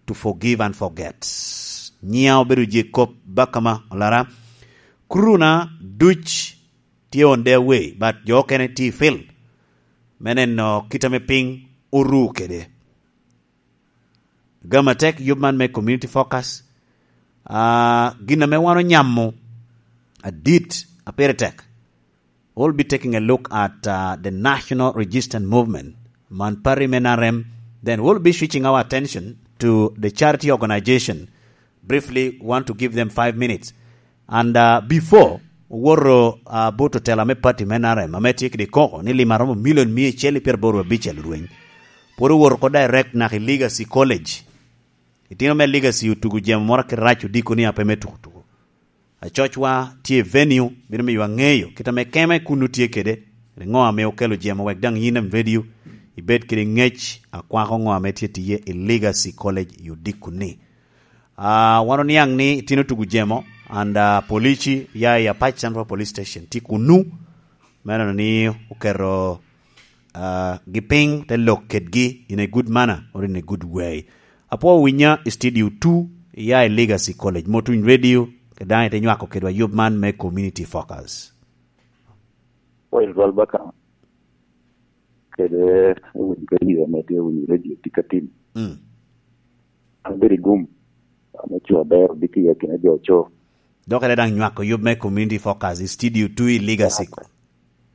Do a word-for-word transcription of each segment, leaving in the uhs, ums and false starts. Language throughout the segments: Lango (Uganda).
to forgive and forget. Nyiŋa obedo Jacob Bakama Olara. Crew na duc tye on their way, but jo okene tye i field me neno kit ame piny oru kede. Gam atek yub man me community focus. Ah, gin ame wan onyamo adit a pire tek. We'll be taking a look at, uh, the National Resistance Movement, man party me N R M. Then we'll be switching our attention to the charity organization. Briefly, want to give them five minutes. And, uh, before, owoto, uh, but otela me party me N R M, ame tye kede koko ni lim aromo milion mia acel i pyeraboro abicel rweny. Pwod owoto oko direct naka i Legacy College. Itino me Legacy otugo jemo moro akit rac odiko ni ape me tuko tuko. Acocwa tye i venue, bino miyo aŋeyo kit ame kema i kunnu tye kede, ri ŋo ame okelo jemo wek daŋ yin en venue, ibed kede ŋec akwako ŋo ame tye tiye i Legacy College i odiko ni. Ah, wan oniaŋ ni itino tugo jemo, and, ah, polici ya i Apac Central Police Station tye kunnu, me neno ni oketo, ah, gi piny te lok kedgi in a good manner or in a good way. Apwoo winya i studio two, ya i Legacy College, Motuny Radio, kede daŋ ite nywako kedwa yub man me Community Focus. Well, Ral Baka, kede winyo radio, ame tye winyo radio tye ka tim. Mm. An bedo i gum, ame co aber, obiki i akina jo co. Dok ite daŋ nywako yub me Community Focus i studio two i Legacy.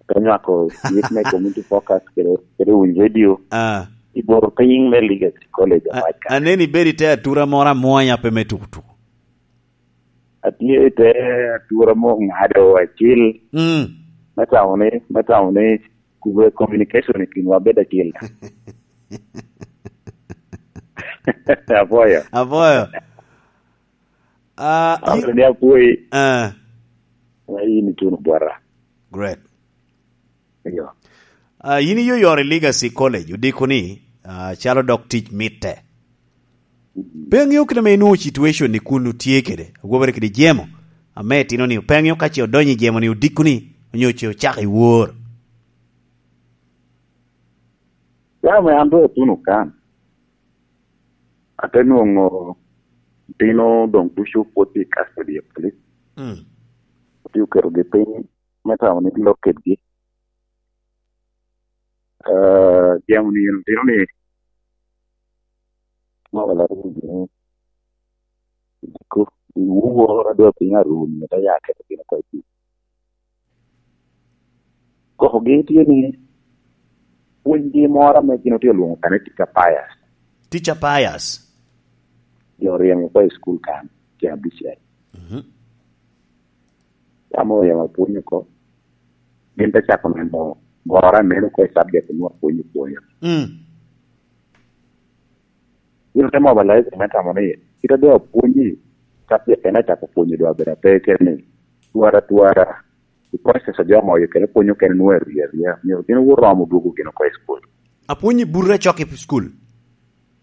Te nywako yub me Community Focus kede, kede winyo radio. Ah. I bor piny me Legacy College, a-, Apac ka. Aneni bedo i te atura moro amwonya pe me tuko tuko. Atye i te atura mo ŋado acil. Mm. Me tamo ni, me tamo ni, kube communication i kinwa bedo acil. Apwoyo. Apwoyo. Ah, Amito ni apwoyi. Ah. Yin ituno bwota. Great. Eyo. Ah, yin iyoyoro i Legacy College, odiko ni, ah, calo dok tic mitte. Mm. Pe aŋeo kit ame inwoŋo situation ni kun otye kede, agwobere kede jemo, ame itino ni, pe aŋeo ka ce odonyo i jemo ni odiko ni, onyo ce ocako i wor. Ya me an doŋ atuno kan. Ate nwoŋo otino doŋ ducu pwod tye i custody of police. Mm. Pwod tye oketogi piny me tamo ni lok kedgi. Ah, jemo ni otino ni, mo wala ni, diko, i wuworo adwa piny aruni, te ya keto gin oko i piny. Kokogi tye ni, pwonygi moro ame gin otye olwoŋo kan ni Teacher Pius. Teacher Pius. Jo oryemo oko i cukul kan, tye abicel. Mhm. Yam oryemo apwony oko. Gin te cako neno goro aneno oko i subject onwoŋo apwony opwonyo. Mm. Gin te mobilize me tamo ni, kit a doŋ apwonyi, subject en acako pwonyo doŋ abedo ape kene ni, twara, twara, i process a jo moyo kene pwonyo kene nwoŋo eria, eria. Myero gin oromo dwogo gin oko i school. Apwonyi burre cok i school?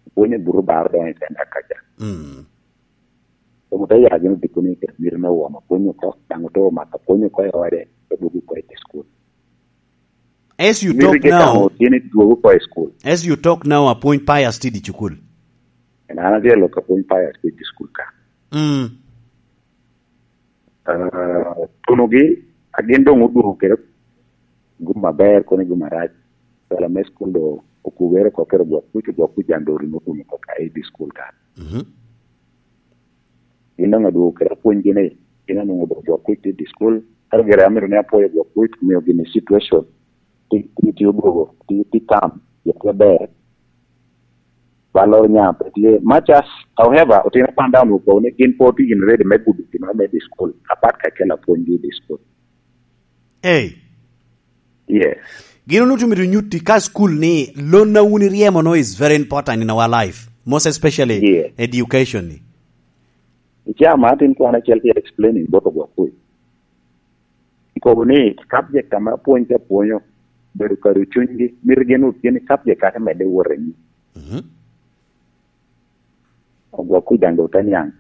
Apwonyi burre bar doŋ i center kaca. Mm. Omo te ya gin odiko ni kede miro me won apwony oko, daŋ oto omako apwony oko i ode, te dwogo oko i school. As you talk now, tye ni dwogo oko i school. As you talk now, apwony Pius tye i cukul. En an atye lok apwony Pius tye i cukul ka. Mm. Ah, tunogi, a gin doŋ odwogo kede gum aber kono i gum arac. Pala me school do okubere oko kede gwok kuc, gwok kuc jan do orimo gum oko ka i di school ka. Mhm. Gin daŋ adwogo kede apwonygi ni, gin anwoŋo dok gwok kuc tye i school. Ento gire amito ni apwoyo gwok kuc, omio gini situation tye, tye, tye odwogo, tye, tye calm, tye, tye ber. Ba loro nya pe tye. Much as, however, otino kwan daŋ onwoŋo kobo ni gin pe otye in ready me gudo gin me di school, apat ka kelo apwonygi i di school. Hey. Yes. Gin onwoŋo tye mito nyutti ka school ni lon a wun iryemo no is very important in our life, most especially, yes, education ni. Ica ma atin kwan acel tye explaining bot ogwok kuc. Ikobo ni subject ame apwony ka apwonyo, bedo kado cunygi, mito gin wot gin i subject ate medde wot i nyim. Mhm. Ogwok kuc daŋ doŋ te niaŋ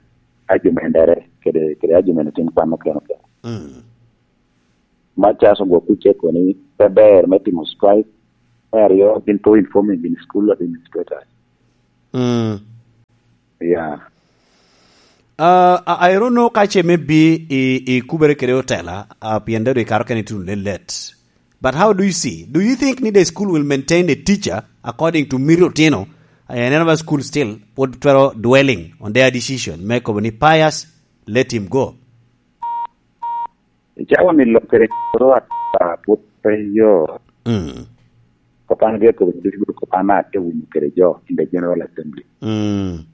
argument dere, kede, kede argument otin kwan okene okene. Mm. Much as ogwok kuc ceko ni pe ber me timo strike, me aryo, gin pe informing gin school administrators. Mm. Uh, I, I don't know ka ce maybe i, i kubere kede otela, uh, pien dado i karo kene ituno ne let. But how do you see? Do you think ni the school will maintain a teacher according to miri otino? Uh, another school still, what twero dwelling on their decision. Me kobo ni Pius, let him go. Icawa ni lokere ro a put pe yo. Mm. Kopan ge ko winyo ducu kopan a ke winyo kede jo in the General Assembly. Mm.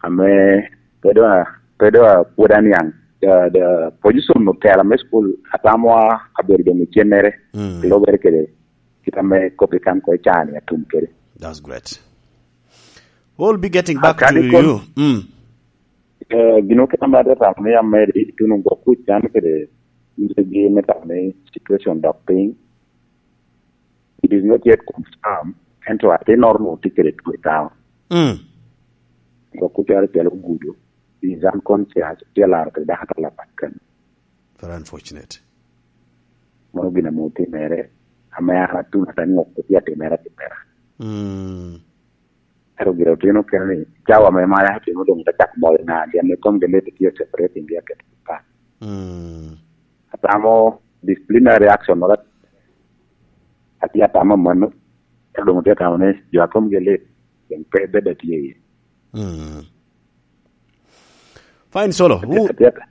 Ame pedo a pedo a pwod aniang. The, the position of tela me school atamo a abedo dong i cennere. Mm. Lobere kede kita me kopi kan ko icani atum kede. That's great. We'll be getting back to you. Mm. Eh, gino kit ame atye tamo ni amed ituno gwok kuc can kede yigi me tamo ni situation dok piny. It is not yet confirmed, ento atinoro nwoŋo tye kede two i town. Mm. Gwok kuc cware calo gudo, is unconscious, tye laro kede dako atala pat kano. Very unfortunate. Mano gin ame otimere, ame an atuno ata ŋok tye atimere atimera. Mm. Ero gire otino kene ni cawa me maya tino doŋ te cak mol na gin me kom gele te tye separating gi aket pa. Mm. Atamo disciplinary action wala ati atamo mano. Ero doŋ te tamo ni jo akom gele doŋ pe bed atye ye. Mm. Fine, Solo. Who, Atiata.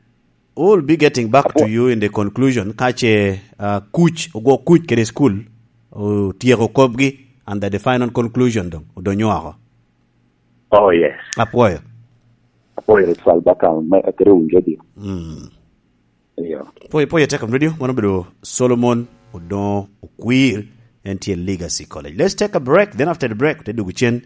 We'll be getting back to you in the conclusion. Kache uh, kuc, ogo kuc kede school, otieko kopgi, and that the final conclusion dong, odonyo oko. Oh yes. Apwoyo. Apwoyo twal baka me akere un radio. Mm. Iyo. Pwoyo, pwoyo tek radio, mano bedo Solomon Odongo Okwir, en tye Legacy College. Let's take a break, then after the break, te dugu cen,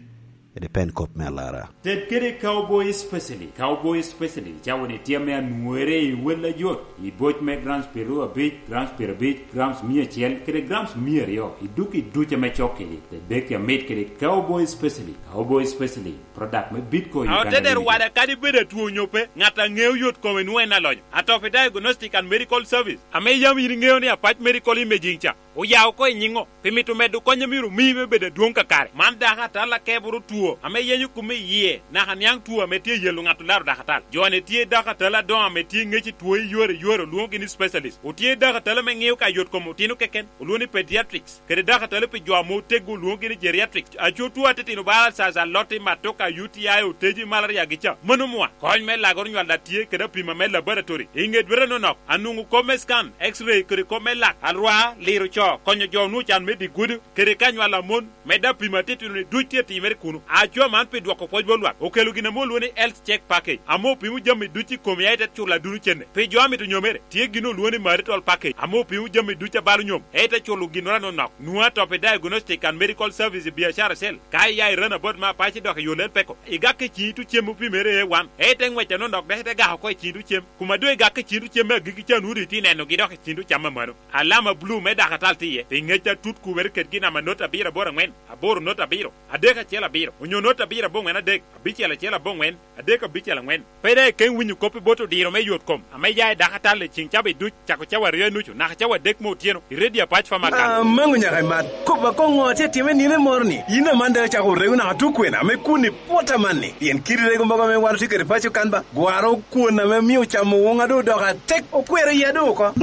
ede pen kop me alara. Ted kede Cowboy Specialty. Cowboy Specialty cawa ni tye ame anwere i wel ajot, i boc me grams piru abic, grams piru abic, grams mia acel, kede grams mia aryo, i duk i duc ame cok kedi. Te dek ya mit kede Cowboy Specialty. Cowboy Specialty, product me Bitco Uganda Limited. Aoteder wada kadi bed atwo onyo pe, ŋat a ŋeo yot kome nwoŋo en alonyo. Atopi Diagnostic and Medical Service, ame yam yin iŋeo ni Apac Medical Imaging ca, oya oko i nyiŋo, pi mito medo kony a myero omi me bedo adwoŋ kakare. Man dako atal akeboro two ame yenyo kume i yie, naka niaŋ two ame tye yelo ŋat olaro dako atal. Jo-ni tye dako atal adoŋo ame tye ŋec i two i yore i yore, olwoŋogi ni specialist. Otye dako atal ame ŋeo ka yot kom otino keken, olwoŋo ni pediatrics, kede dako atal pi jo ame oteggo, olwoŋogi ni geriatrics. Aco two atitino bala caca, lotti, matoka, U T I, oteji, malaria gi ca. Mano mwa. Kony me lagoro nywal a tye kede apima me laboratory. I ŋe dwete nonok, anwoŋo kop me scan, X-ray, kede kop me lak, alwar, liro co, konyo jo onwoŋo can me dye gudo, kede ka nywal a mon, medde apima atitino-ni duc tye timere kuno. Aco man pi dwoko pwoc bot lwak, okelo gin ame olwoŋo ni Health Check Package, ame opimo jami duc i komi a ite culo aduno cene. Pi jo a mito nyomere, tye gin olwoŋo ni Marital Package, ame opimo jami duc a balo nyom, a ite culo ginnoro anonok. Nwoŋo Atopi Diagnostic and Medical Service i biacara cell. Ka iya i Runabout me Apac idok i yo Lel Peko, igak i ciŋ itu cem opimere A one, a ite ŋwec anonok dok ite gak oko i ciŋ itu cem. Kuma doŋ igak i ciŋ itu cem me agikki ca, nwoŋo doŋ itye nenogi dok i ciŋ itu cam amano. Alama bulu me dako atal tye iye, pi ŋec atut kubere kede gin namba not abiro aboro aŋwen, aboro not abiro, adek acel abiro, onyo not abiro aboŋwen adek, abicel acel aboŋwen, adek abicel aŋwen. Pe daŋ ikeŋ winyo kop i bot odiro me yot kom ame ya i dako atal i ciŋ cawa duc, cako cawa aryo i nucu naka cawa adek me otyeno, i redio Apac Famakan. Amaŋo nyaka imat. Kop akoŋo atye time nino moro-ni? Yin aman daŋ icako rego naka tukwena ame kun i pwot amanni? Pien kidi rego mogo ame wan otye kede paco kan ba, gwaro kwon ame mio camo woŋa doŋ odoko atek, okwero iya doŋ oko.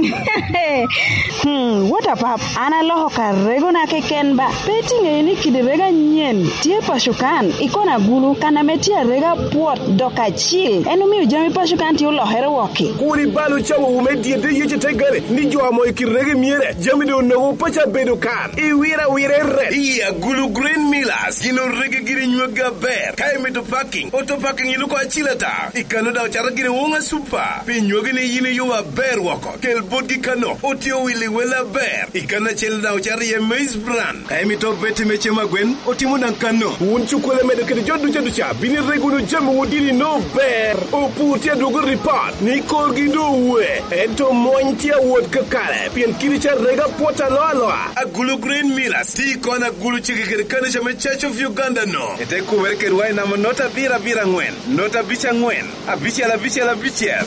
Hmm, what a pap! An aloko ka regona keken ba. Pe itiŋeyo ni kidi rego anyen tye paco kan, i kona agulu, kan ame tye arega pwot dok acil. En omio jami paco kan tye olokere wok-ki. Kur ibal ocawowu me dyedde yec i te gare, ni jo amoyo kit rego i myere, jami doŋ onogo paco abedo kan. Iwiro awira i ret. I agulu Green Millers, gin orege giri nyweggi aber. Ka imito parking, auto parking iluko acil ata. I kano daŋ ocato giri woŋa super. Pi nyweggi ni yin iyubo aber woko. Kel botgi kano, otye owilli wel aber. I kano acel daŋ ocato iye maize bran. Ka imito beti me cem agwen, otimo daŋ kano. Wun cukwele medo kede jo duca duca, bino ireg wunu jami wun dini no ber. Opur tye adwogo ripot ni korgi doŋ owe, ento mony tye awot kakare, pien kidi ca rega pwot aloa aloa. Agulu Green Millers tye i kona agulu cege kede kanica me Church of Uganda no. Ete kumere kedwa i namba not abiro abiro aŋwen, not abic aŋwen, abicel abicel abicel.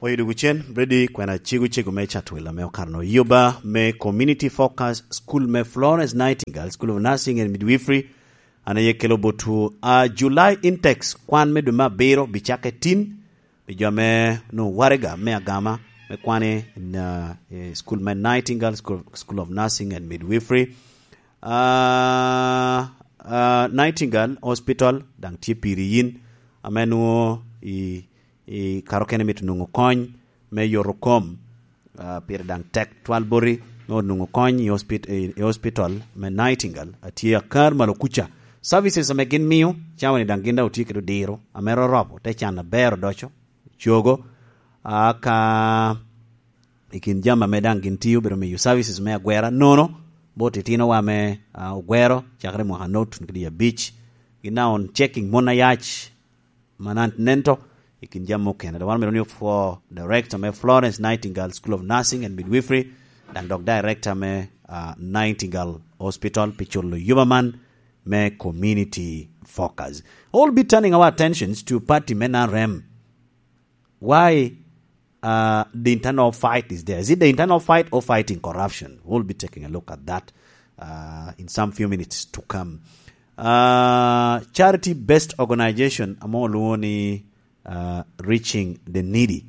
Oyo dwogo cen, Brady kwena cego cego me Chatwil ame okato no. Yoba me Community Focus School me Florence Nightingale School of Nursing and Midwifery An aye kelo botwu, ah, July intakes, kwan me dwe me abiro bicakke tin, pi jo ame onwoŋo waraga me agama me kwane in, ah, i school me Nightingale School, School of Nursing and Midwifery. Ah, ah, Nightingale Hospital daŋ tye piri yin, ame nwoŋo i, i kare okene mito nwoŋo kony me yoto kom, ah, pire daŋ tek twal boti me onwoŋo kony i hospit-, i, i hospital me Nightingale, a tye akar malo kuca. Services ame gin mio, cawa-ni daŋ gin daŋ otye kede odiro, ame rorobo, te can aber odoco, cogo, ah, ka i kin jami ame daŋ gin tio, obedo miyo services me agwera nono, bot itinowa ame, ah, ogwero, cakere mwaka not, tun kede i abic. Gin daŋ on checking mon ayac, manant nento, i kin jami okene. Dok wan omito ni opwo director me Florence Nightingale School of Nursing and Midwifery, daŋ dok director me, ah, Nightingale Hospital pi culo yuba man me community focus. We'll be turning our attentions to party me N R M. Why, uh, the internal fight is there? Is it the internal fight or fighting corruption? We'll be taking a look at that, uh, in some few minutes to come. Uh, charity-based organization ame olwoŋo ni, uh, Reaching the Needy,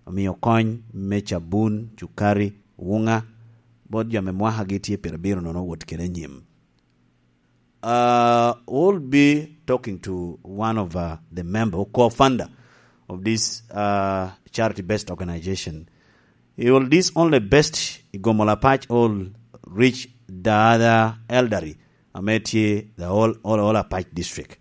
omiyo kony me cabun, cukari, wuŋa, bot jo ame mwakagi tye pyerabiro nono wot kede anyim. Uh, we'll be talking to one of, uh, the member or co-founder of this, uh, charity-based organization. He will this only best i Gomola Apac all reach the other elderly, ame tye the whole, all, all Apac district.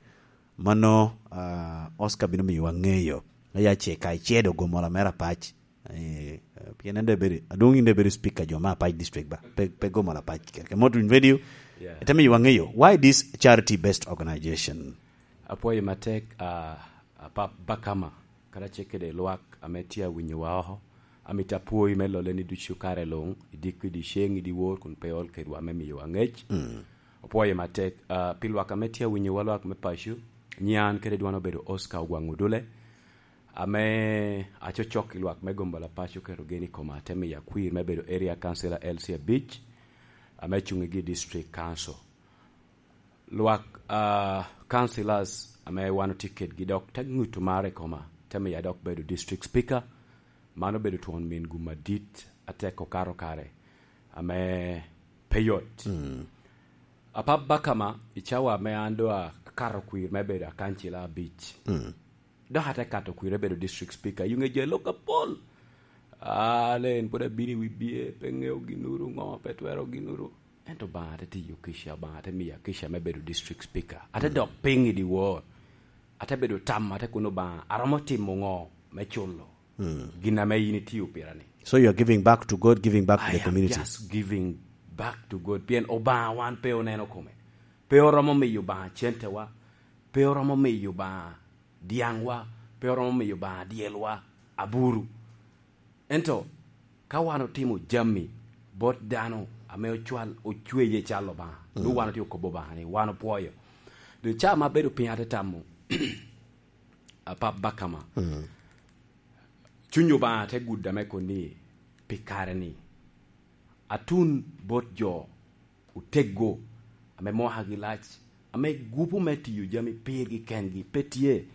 Mano, uh, Oscar bino miyowa ŋeyo. Aya ce ka icedo Gomola mere Apac. Eh, pien en dong bedo, adwong in dong bedo speaker jo me Apac district ba, pe, pe Gomola Apac keken. Ke moto in radio, yeah, ite miyowa ŋeyo, why this charity-based organization? Apwoyo matek, ah, Apap Bakama, karacel kede lwak ame tye awinyowa oko. Amito apwoyi me lolle ni ducu kare luŋ, i diko, i dyeceŋ, i dyewor, kun pe iol kedwa me miyowa ŋec. Mm. Apwoyo matek, ah, pi lwak ame tye awinyowa, lwak me paco, nyian kede dwan obedo Oscar Ogwaŋ Odule. Ame acocok i lwak me Gomola Apac oketo gen i koma, te miyo akwir me bedo Area Councilor L C abic, ame cuŋ i gi District Council. Lwak, ah, councillors ame wan otye kedgi dok te ŋuto mar i koma, te miyo adok bedo District Speaker. Mano obedo twon min gum adit, atek okato kare, ame pe yot. Mm. Apap Bakama, i cawa ame an doŋ akato kwir me bedo akancila abic. Mm. Dok ate kato kwir me bedo district speaker, i ŋe jo i lok apol. Ah, le en pwod abino i wi bye, pe ŋeo ginnoro ŋo, pe twero ginnoro. Ento Obaŋa te tiyo kica, Obaŋa te miya kica me bedo district speaker. Ate, mm, dok piny i dyewor. Ate bedo tam, ate kono, "Obaŋa, aromo timo ŋo me culo, mm, gin ame in itio pira ni?" So you are giving back to God, giving back to the community. I am just giving back to God. Pien Obaŋa wan pe oneno kome. Pe oromo miyo Obaŋa centewa. Pe oromo miyo Obaŋa dyaŋwa, pe oromo miyo Obaŋa dyelwa aburu. Ento ka wan otimo jami bot dano ame ocwal, ocweye cal Obaŋa, mm, nwoŋo wan otye okobo Obaŋa ni wan opwoyo. Doŋ ca ma abedo piny ate tamo, Apap Bakama, mm, Cuny Obaŋa te gudda me koŋ ni, pi kare-ni, atun bot jo oteggo, ame mwakagi lac, ame gupu me tiyo jami pirgi kengi pe tye,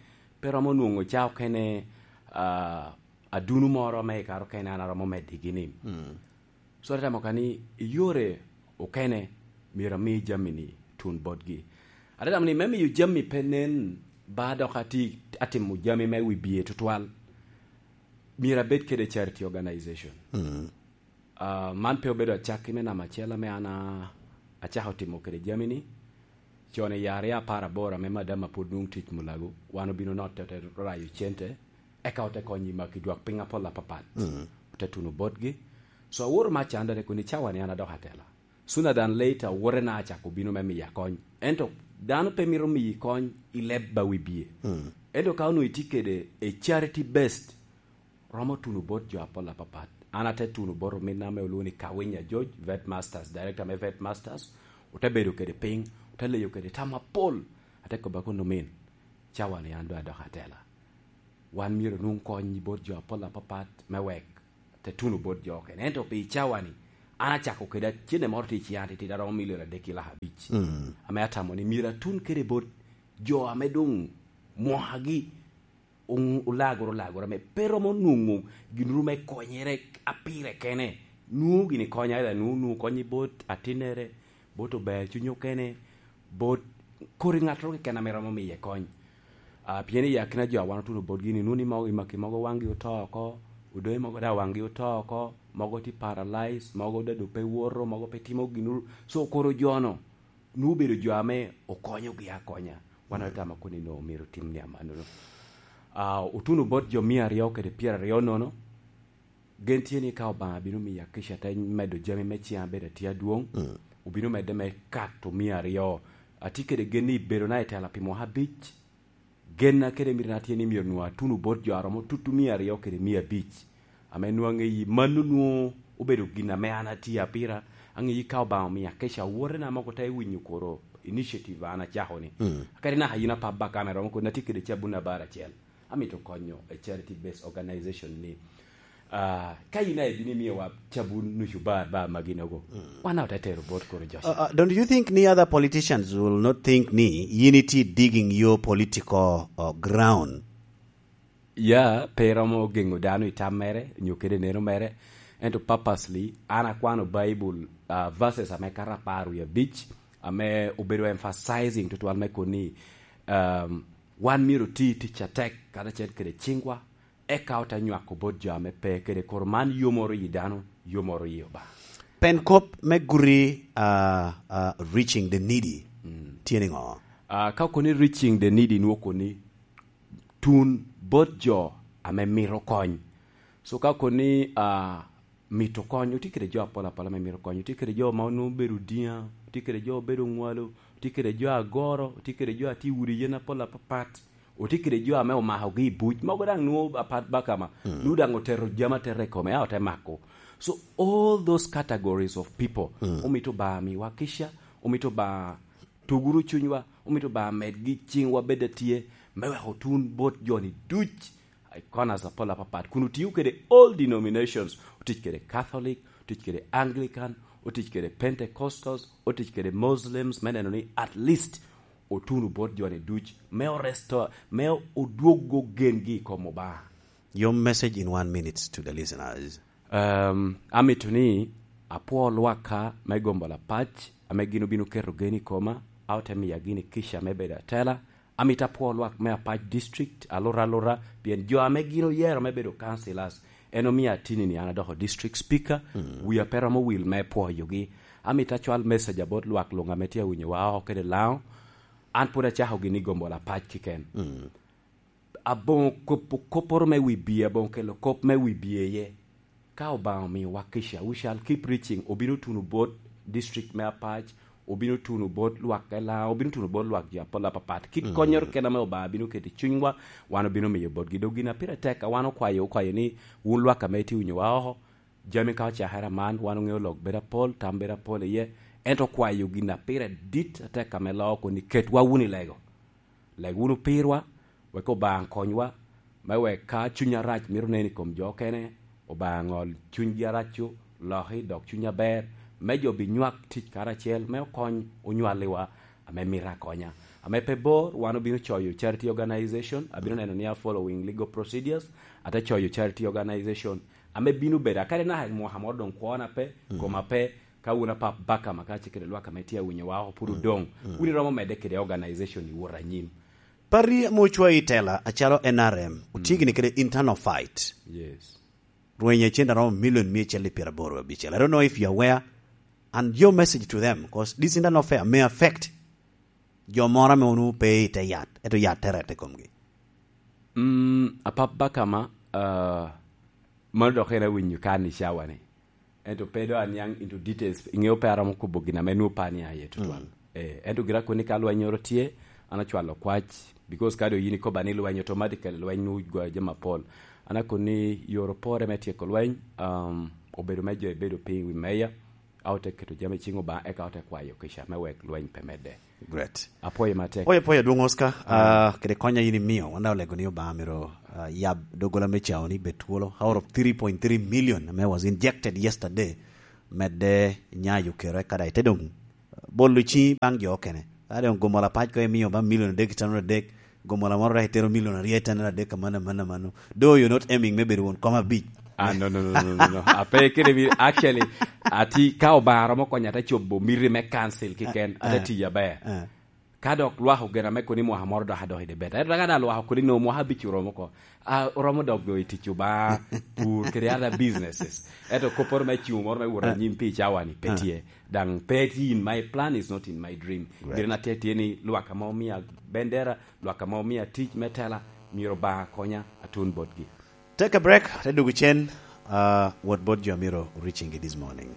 pe romo nwoŋo ca okene, ah, adunu moro ame i kare okene an aromo meddigi ni. Mm. So, ate tamo ka ni i yore okene myero ami jami-ni tun botgi. Ate tamo ni me miyo jami pe nen ba dok ati-, atimo jami me wi bye tutwal, myero abed kede charity organization. Mm. Ah, man pe obedo acakki me namba acel ame an a-, acako timo kede jami-ni. Con i yare apar aboro ame madam a pwod nwoŋo tic Mulago, wan obino notte, ote rayo cente, eka ote konyo i maki dwak piny apol apapat. Mm. Ote tuno botgi. So, awoto me acanda, te kono i cawa-ni an adok atela. Sooner than later, owote na acako bino me miya kony. Ento dano pe mito miyi kony i leb ba wi bye. Mm. Ento ka onwoŋo itye kede a charity based, romo tuno bot jo apol apapat. An ate tuno bot ominna ame olwoŋo ni Kawinya George, Vet Masters, Director me Vet Masters, ote bedo kede piny, ote leyo kede tam apol. Ate kobba kono, "Omin, cawa-ni an doŋ adok atela. Wan myero onwoŋ kony bot jo apol apapat me wek te tuno bot jo okene. Ento pi cawa-ni, An acako kede acene moro tye i ciya titidi aromo milion adek ki lak abic. Mm. Ame atamo ni myero atun kede bot jo ame doŋ mwakagi oŋ-, olagoro lagoro ame pe romo nwoŋo gin ru me konyere apire kene. Nwoŋo gini konya, ela nwoŋo, nwoŋo konyi bot atinnere, bot ober cunyo kene, bot kodi ŋattoro keken ame romo miye kony. Ah, pien i akina jo a wan otuno botgi ni, nwoŋo ni mogo i maki mogo waŋgi oto oko, odoi mogo daŋ waŋgi oto oko, mogo tye paralyzed, mogo daŋ doŋ pe woto, mogo pe timo gin ru. So, koro jo-nu, nwoŋo obedo jo ame okonyogi akonya. Wan otamo koni no myero otim ni amannono. Ah, otuno bot jo mia aryo kede pyeraryo nono, gen tye ni ka Obaŋa bino miyo akica te medo jami me ciŋa bedo atye adwoŋ, mm, obino medde me kato mia aryo. Atye kede gen ni i bedona i tela pi mwaka abic, genna kede mitona tye ni myero nwoŋo atuno bot jo a romo tutu mia aryo kede mia abic, ame nwoŋo aŋeyi mano nwoŋo obedo gin ame an atye apira. Aŋeyi ka Obaŋa omio akica awotena mogo te winyo koro initiative an acako ni. Mm. Kadi naka yin apap bakame romo kodi, atye kede cabun abar acel. Amito konyo a charity based organization ni, ah, ka yin aye bino imiyowa cabun nucu bar, bar maginogo, mm, wan ote tero bot koro Joshua. Uh, uh, don't you think ni other politicians will not think ni yin itye digging your political, uh, ground? Ya, pe romo geŋo dano i tam mere, nyo kede neno mere, ento purposely, an akwano Bible, ah, verses ame kato apar wie abic, ame obedo emphasizing tutwal me koni, um, wan myero oti tic atek, karacel kede ciŋwa, eka ote nywako bot jo ame pe, kede koro man yomoro yi dano, yomoro yi Obaŋa. Pen kop me guti, ah, ah, reaching the needy, mm, tye niŋo? Ah, ka okoni reaching the needy, nwoŋo koni tun bot jo ame mito kony. So ka okoni, ah, mito kony, otye kede jo apol apol ame mito kony. Otye kede jo ma onwoŋo obedo diŋa, otye kede jo obedo ŋwalo, otye kede jo agoro, otye kede jo a tye i udi yen apol apapat, otye kede jo ame omakogi i buc. Mogo daŋ nwoŋo apat bakama, mm, nwoŋo daŋ otero jami atera i kome, a ote mako. So all those categories of people, mm, omito Obaŋa miwa kica, omito Obaŋa tuguru cunywa, omito Obaŋa medgi ciŋwa bed atye, me wek otun bot jo-ni duc i corners apol apapat, kun otio kede all denominations, otic kede Catholic, otic kede Anglican, otic kede Pentecostals, otic kede Muslims, me neno ni at least otuno bot jo-ni duc, me oresto, me odwoggo gengi i kom Obaŋa. Your message in one minute to the listeners. Um, amito ni apwo lwakka me gombo lapac, ame gin obino keto gen i koma, a ote miya gini kica me bedo atela. Amito apwo lwak me Apac District, alura alura, pien jo ame gin oyero me bedo councillors, en omio atini ni an adoko district speaker, mm, wia pe romo wil me pwoyogi. Amito acwal message abot lwak luŋ ame tye awinyowa oko kede Laŋo. An pwod acako gini gombo lapac kiken. Mm. Aboŋo kopo kopporo me wibie, aboŋo kelo kop me wibie iye. Ka Obaŋa omiowa kica, we shall keep reaching. Obino tuno bot district me Apac, obino tuno bot lwak Elaŋa, obino tuno bot lwak jo apol apapat. Kit, mm, konnyoro kena ame Obaŋa bino keto i cunywa, wan obino miyo botgi. Dok gin a pire tek a wan okwayo, okwayo ni, wun lwak ame itye winyowa oko, jami ka ocakere aman, wan oŋeo lok bedo apol, tam bedo apol iye. Ento okwayo gin a pire dit atek ame loo koni, ketwa wunu i lego. Leg wunu pirwa, wek Obaŋa konywa, me wek ka cuny arac mito nen i kom jo okene, Obaŋa ŋol cunygi arac-cu, loki dok cuny aber, me jo binywak tic karacel, me okony onywaliwa ame mito akonya. Ame pe bor, wan obino coyo charity organization, abino neno ni a following legal procedures, ate coyo charity organization, ame bino bedo, akadi naka mwaka moro doŋ kwona pe, mm, koma pe, ka wun apap bakama ka ce kede lwak ame tye awinyowa oko pwod, mm, odoŋ, mm, wun iromo medde kede organization i wot anyim. Party ame ocwayo i tela acalo N R M, mm, otye gini kede internal fight. Yes. Rweny acel aromo milion mia acel i pyeraboro abicel. I don't know if you're aware, and your message to them, 'cause this internal fight may affect jo moro ame onwoŋo pe i te yat, ento yat te rette i komgi. Mm, apap bakama, ah, mano dok en awinyo kan i cawa-ni. Ento pe do aniaŋ into details, iŋeo pe aromo kobo gin ame nwoŋo pe aniaŋ iye tutwal. Mm. Eh, ento gira koni ka lweny oro tye, an acwalo kwac, because ka do yin ikoba ni lweny automatically, lweny nwoŋo gwayo jami apol. An akoni yore opore me tyeko lweny, um, obedo me jo ebedo piny i wi meya, a ote keto jami i ciŋ Obaŋa, eka ote kwayo kica me wek lweny pe medde. Great. Apwoyo matek. Apwoyo, apwoyo, adwoŋ Oscar, mm, ah, kede konya yin imiyo, wan daŋ olego ni Obaŋa myero, ah, yab doggola me cawa ni bed twolo. Out of three point three million ame was injected yesterday, medde nyayo kero, eka daŋ ite doŋ bolo ciŋi baŋ jo okene. Ka doŋ gomola pac ko imio ba milion adek i tanura adek, gomola moro dok itero milion aryo i tanura adek, amanno, amanno, amanno. Though you're not aiming me bedo won kom abic. Ah, no, no, no, no, no, no. Ape kede mi, actually, ati ka Obaŋa romo konya, ate cobo miti me council keken, ate Ah, tiyo aber. Ah. Ka dok lwak ogena me kono i mwaka moro dok adok i debet. Ento ka daŋ lwak okoni nwoŋo mwaka abic oromo oko, ah, oromo dok doŋ i tic Obaŋa, pur, kede other businesses. Ento kopporo me cuŋ moro me wot Ah. anyim pi cawa-ni pe Ah. tye. Daŋ pe tye in my plan, is not in my dream. Right. Gire na tye tye ni lwak ame omia bendera, lwak ame omia tic me tela, myero Obaŋa konya atun botgi. Take a break, te dugu cen, uh, what bot jo amiro reaching this morning.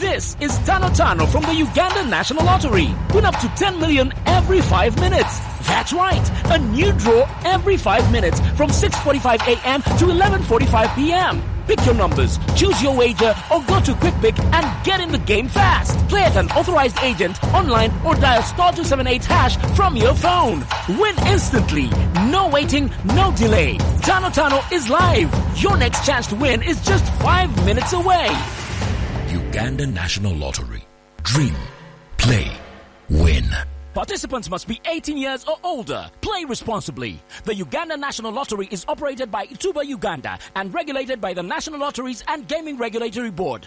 This is Tano Tano from the Uganda National Lottery. Win up to ten million every five minutes. That's right, a new draw every five minutes from six forty-five a m to eleven forty-five p m. Pick your numbers, choose your wager, or go to Quick Pick and get in the game fast. Play at an authorized agent, online, or dial star two seven eight hash from your phone. Win instantly. No waiting, no delay. Tano Tano is live. Your next chance to win is just five minutes away. Uganda National Lottery. Dream, play, win. Participants must be eighteen years or older. Play responsibly. The Uganda National Lottery is operated by Ituba Uganda and regulated by the National Lotteries and Gaming Regulatory Board.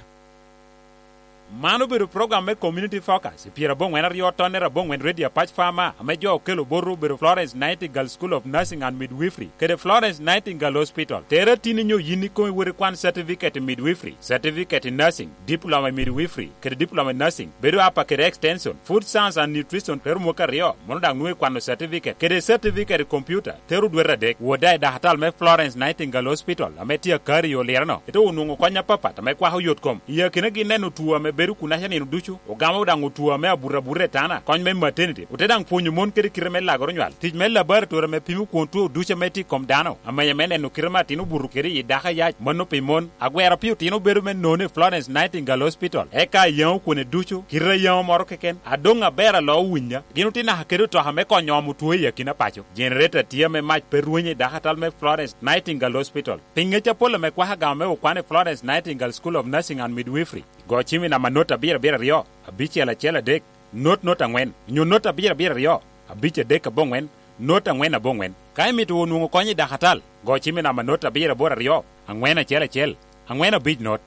Man obedo program me Community Focus i pyeraboŋwen aryo tonnere aboŋwen Radio Apac Farmer, ame jo okelo botwu obedo Florence Nightingale School of Nursing and Midwifery kede Florence Nightingale Hospital. Tere tin inyo yin ikomi wot ikwan certificate in midwifery, certificate in nursing, diploma in midwifery, kede diploma in nursing, bedo apa kede extension, food science and nutrition, tero mwaka aryo, mono daŋ nwoŋo ikwano certificate, kede certificate in computer, tero dwete adek. Wot daŋ i dakatal me Florence Nightingale Hospital, ame tye Akari i Olireno, ite onwoŋo kony apapat ame kwako yot kom. I akinagi neno two ame bedo kunaca nino ducu, ogamo daŋ two ame abuto abuta i tana, kony me maternity, ote daŋ pwonyo mon kede kite me lagoro nywal, tic me laboratory ame pimo kwon two ducu ame tye i kom dano, amenya me neno kite ame atin obuto kede i dako ayac, mano pi mon. Agwero pi otino bedo me nono i Florence Nightingale Hospital, eka ayaŋo kwone ducu, kite ayaŋo moro keken, adoŋ aber alo owinya. Gin otye naka kede otoka me konyo omo two i akina paco. Generator tye ame mac pe rwenyo i dakatal me Florence Nightingale Hospital. Pi ŋec apol ame kwako agama me okwan i Florence Nightingale School of Nursing and Midwifery, go cim i namba not abiro abiro aryo, abicel acel adek, not not aŋwen, onyo not abiro abiro aryo, abic adek aboŋwen, not aŋwen aboŋwen. Ka imito wot nwoŋo kony i dakatal, go cim i namba not abiro aboro aryo, aŋwen acel acel, aŋwen abic not.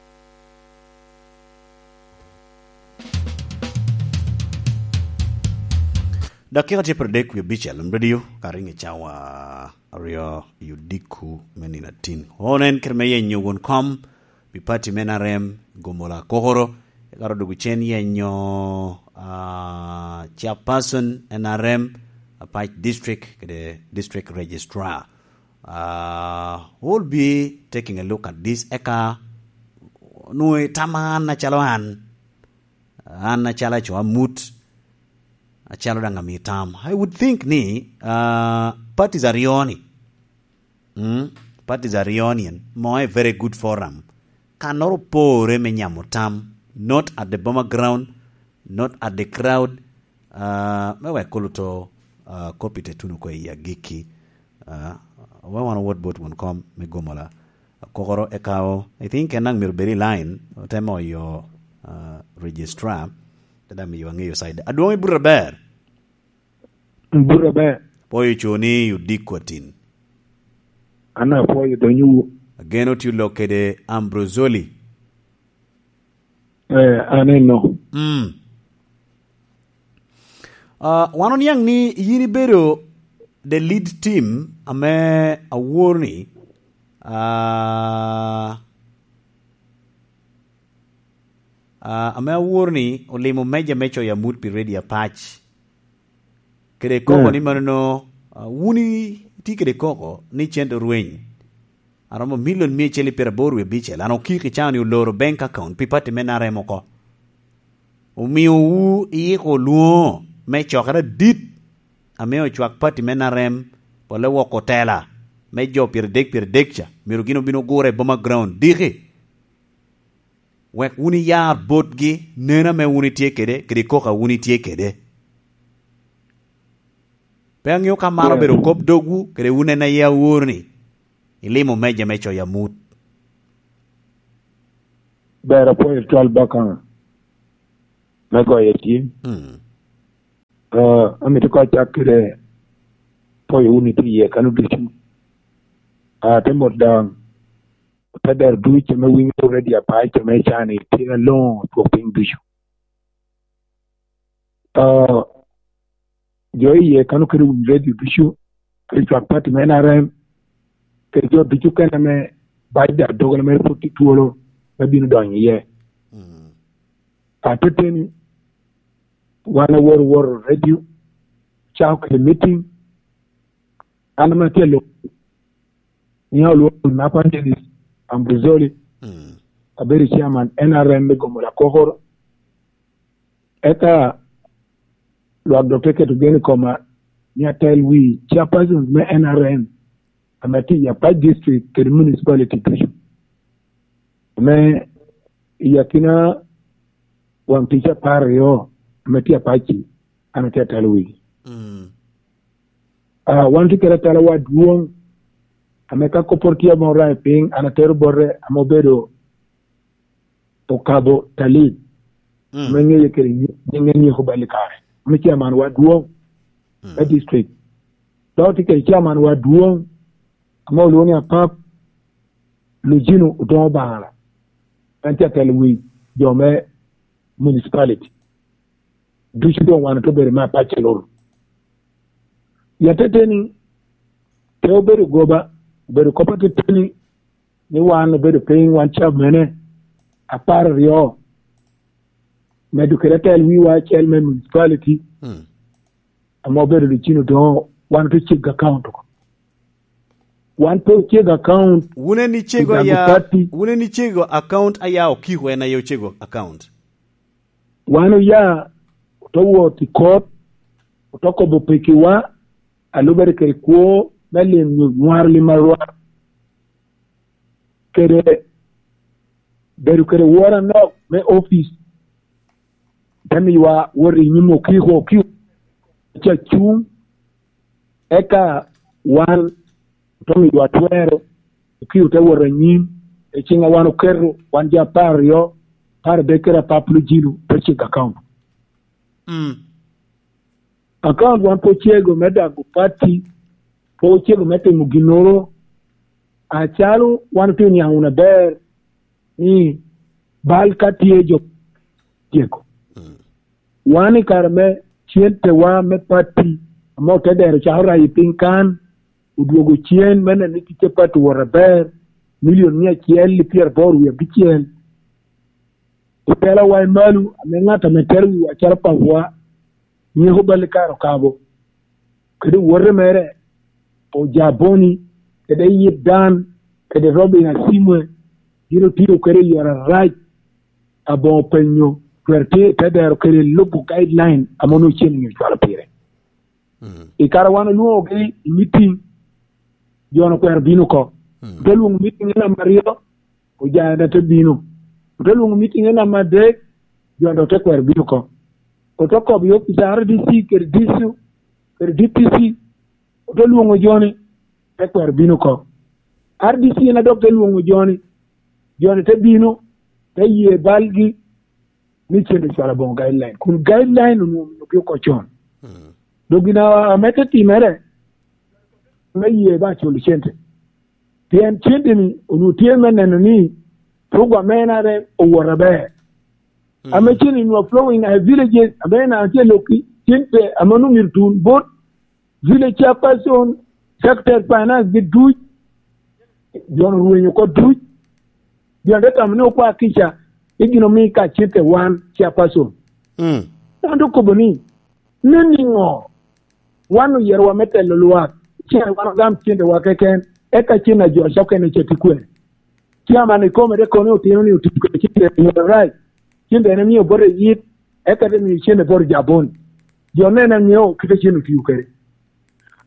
Dakika tye pyeradek wie abicel, radio ka riŋo i cawa aryo i odiko me nino atin. Onen kite me yenyo won kom pi pati me N R M, Gomola Kokoro, eka ro dwogo cen yenyo, ah, chairperson N R M, Apac District, kede District Registrar. Ah, we'll be taking a look at this. Eka nwoŋo itama an acalo an, an acalo aco amut, acalo daŋ ami tam. I would think ni, ah, parties aryo ni, mm, parties aryo ni en, mo a very good forum. Kannoro opore me nyamo tam, not at the Boma ground, not at the crowd. Ah, me wek kulu to, ah, kopi te tuno ko i agikki. Ah, we wan owot bot won kom me Gomola Kokoro eka o, I think en daŋ myero bed i line, otemo oyo, ah, registrar, te daŋ miyo aŋeyo side. Adwoŋ i buto aber. Buto aber. Pwoyo co ni odiko atin. An apwoyo donyo. Ageno tye olok kede Ambrosoli. Eh, aneno. Mm. Ah, wan oniaŋ ni yin ibedo the lead team ame awor ni, ah, ah, ame awor ni olimo meja me coyo amut pi Radio Apac. Kede koko Mm. ni manono, ah, wun itye kede koko ni cente orweny. Aromo milion mia acel i pyeraboro wie abicel. An okiko i cawa ni oloro bank account pi party me N R M oko. Omiowu iyiko lwoŋo me cokere adit ame ocwak party me N R M, pole woko tela me jo pyeradek pyeradek ca. Myero gin obin ogure i Boma Ground. Diki. Wek wun iyar botgi neno ame wun itye kede, kede koko a wun itye kede. Pe aŋeo ka man obedo kop dogwu, kede wun en aye awor ni ilimo meja me coyo amut. Ber apwoyo twal baka. me goyo cim. Mm. Ah, amito ka acak kede poyo wunu itye iye kano ducu. Ah, te mot daŋ, te dero ducu ame winyo redio apac ame can-ni tye aloŋo twok piny ducu. Ah, jo iye kano kede winy redio ducu, kede cwak pati me N R M, kede jo ducu kene ame bac da doggola mere pwod tye twolo me bino donyo iye. Mm. Ateteni, wan awoto woto redio, cako kede meeting, an ame atye alok, niya olwongo Napa Dennis Ambrozoli, mm, abedo chairman N R M me Gomola Kokoro. Eka lwak dok te keto gen i koma ni atel wi chairpersons me N R M ame tye i Apac District kede municipality ducu. Ame i akina waŋ tic apar aryo ame tye Apac-ci, an atye atelo wigi. Mm. Ah, wan tye kede atelawa adwoŋ, ame ka kopporo tye ame oraŋ i piny, an atero bote, ame obedo Okabo Talib, mm, ame ŋeye kede nyi-, nyiŋe nyeko bal i kare, ame chairman wa adwoŋ, mm, me district. Dok tye kede chairman wa adwoŋ, ame olwoŋo ni Apap Lujino Odoŋo Baŋala, en tye atelo wi jo me municipality. Ducu doŋ wan ote bedo me Apac Alur. I ateteni, pe obedo goba, obedo kop ateteni ni wan obedo piny, wan cabmene apar aryo, medo kede atel wiwa acel me municipality, mm, ame obedo Lucino Doŋo, wan ote cego account oko. Wan pe ocego account. Wun en icego aya, pati. Wun en icego account aya okiko en aye ocego account. Wan oya, ote wot i kot, ote kobo pekiwa, a lubere kede kwo me lim nyo nywaro lim arwar, kede bedo kede woro anok me opic, te miyowa wot i nyim okiko, okiko ca cuŋ, eka wan ote miyowa twero, okiko te wot anyim, i ciŋ a wan oketo, wan jo apar aryo, apar adek kede Apap Lujino, te cego account. Mm. Account wan pe ocego me dago pati, pe ocego me timo ginnoro, acalo wan otye oniaŋ wunu aber ni bal ka tye jo cego. Mm. Wan i kare me centewa me pati, ame ote dero cako rayo piny kan, odwogo cen me neno ni ticce pati owot aber, milion mia acel i pyeraboro wie abicel. Otelawa i malo, ame ŋat ame tero wiwa calo papawa, nyeko bal i kare okabo, kede owote mere, Ojaboni, kede Yip Dan, kede Robin Asimwe, gin otiyo kede i yore arac, aboŋo penyo, twero tye i te dero kede lubo guideline ame onwoŋo cen-ni ocwalo pire. Mm. I kare wan olwoŋogi i meeting, jo-nu okwero bino oko. Mm. Ote lwoŋo meeting en namba aryo, Ojana te bino. Ote lwoŋo meeting en namba adek, jo-nu ote kwero bino oko. Ote kobo i opic a R D C kede D C, kede D P C, ote lwoŋo jo-ni, te kwero bino oko. R D C en a dok te lwoŋo jo-ni, jo-ni te bino, te ye balgi, ni cen ocwalo aboŋo guideline, kun guideline onwoŋo omiogi oko con. Mm. Dok gin a-, ame te timere, me ye ba culo cente. Pien cente-ni onwoŋo tye me neno ni program me N R M owot aber. Mm. Ame cente-ni onwoŋo flowing a villages, ame en tye lokki, cente ame onwoŋo myero tun bot village chairperson, secretary finance gi duc, jo-nu orwenyo oko duc, jo-nu te tamo ni okwa kica, i gin omi ka cente wan chairperson. Mm. Wan te okobo ni, "Nen niŋo? Wan oyerowa me telo lwak, cen wan ogam centewa keken, eka cen a jo ocokene ca tye kwene?" Chairman ikome te kono otino ni otio kwede cente i yo arac. Cente en emio bote yit, eka te mio cente bote Jaboni. Jo nene aŋeo kite cen otio kede.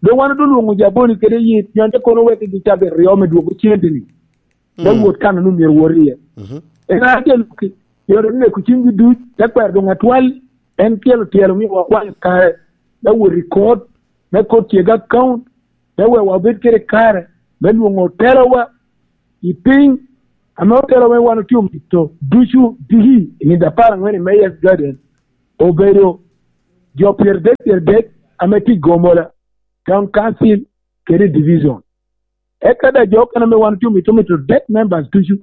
Dok wan ote lwoŋo Jaboni kede yit, pien te kono wek gi cabit aryo me dwogo cente-ni. Te Mm. Wot kan onwoŋo myero wot iye. Mhm. En a te lwaki, myero oneko cimgi duc, te kwero doŋ atwal, en tyelo tyelo omio wakwanyo kare, me wot i kot, me kot cego account, me wek wabed kede kare me lwoŋo otelowa i piny, ame otelo me wan otye omito ducu diki i nino apar aŋwen i Mayor's Garden, obedo jo pyeradek, pyeradek ame tye i gomola, town council, kede division. Eka daŋ jo okene ame wan otye omito, omito dead members ducu,